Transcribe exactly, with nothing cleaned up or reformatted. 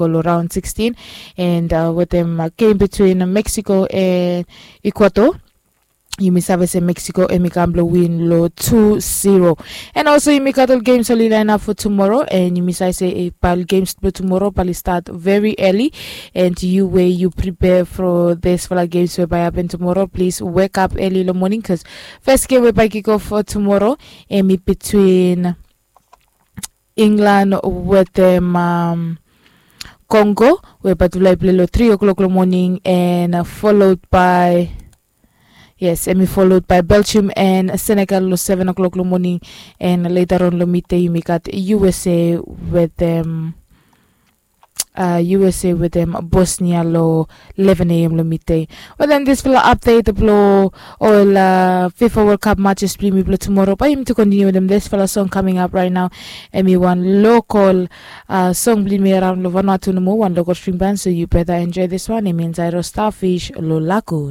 Lo round sixteen and wetem game between Mexico and Ecuador. Yumi save se Mexico em i kam blo win lo two zero. And also yumi gat ol games oli lain ap fo tumoro and yumi save se bae ol games blo tumoro bae oli stat very early. And yu we yu prepare fo disfala games we bae hapen tumoro, plis wekap early lo moning bikos fes game we bae kikof fo tumoro em i between England wetem Congo we bae tufala i plei lo three o'clock lo moning and followed by, yes, em i followed by Belgium and Senegal lo seven o'clock lo moning. And later on lo midday yumi gat U S A wetem U S A wetem Bosnia lo eleven a.m. lo midday. Wetem disfala update blo ol FIFA World Cup matches blo yumi blo tumoro bae yumi tu kontiniu wetem disfala song coming up right now. Em i wan local song blo yumi araon lo Vanuatu nomo, wan local string band, so yu beta enjoy this one. Em i insaed lo Starfish lo Lagoon.